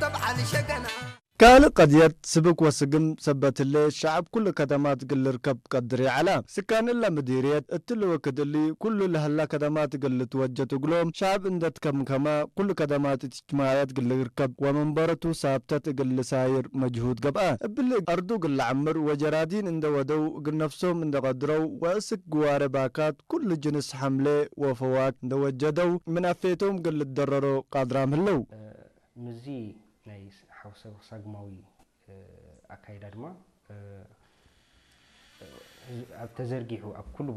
ተብዓል ሸገና ካልእ ቀድየት ስብክ ወስግም ሰበትለ ሸዓብ ኩሉ ከተማት ግልርከብ ቀድር ይዓላ። ስካንላ ምዲርየት እትልወ ክድሊ ኩሉ ለህላ ከተማት እግል ልትወጀት እግሎም ሸዓብ እንደት ከምከማ ኩሉ ከተማት እትጅማዕያት ግልርከብ ወመንበረቱ ሳብተት እግል ልሳይር መጅሁድ ገብአ። እብል አርዱ ግል ለዓምር ወጀራዲን እንደወደው እግል ነፍሶም እንደቀድረው ወእስክ ግዋረ ባካት ኩሉ ጅንስ ሐምሌ ወፈዋክ እንደወጀደው ምን አፌቶም ግል ልደረሮ ቃድራም ህለው። ምዚ ናይ ሓውሰ ሳግማዊ ኣካይዳ ድማ ኣብ ተዘርጊሑ ኣብ ኩሉ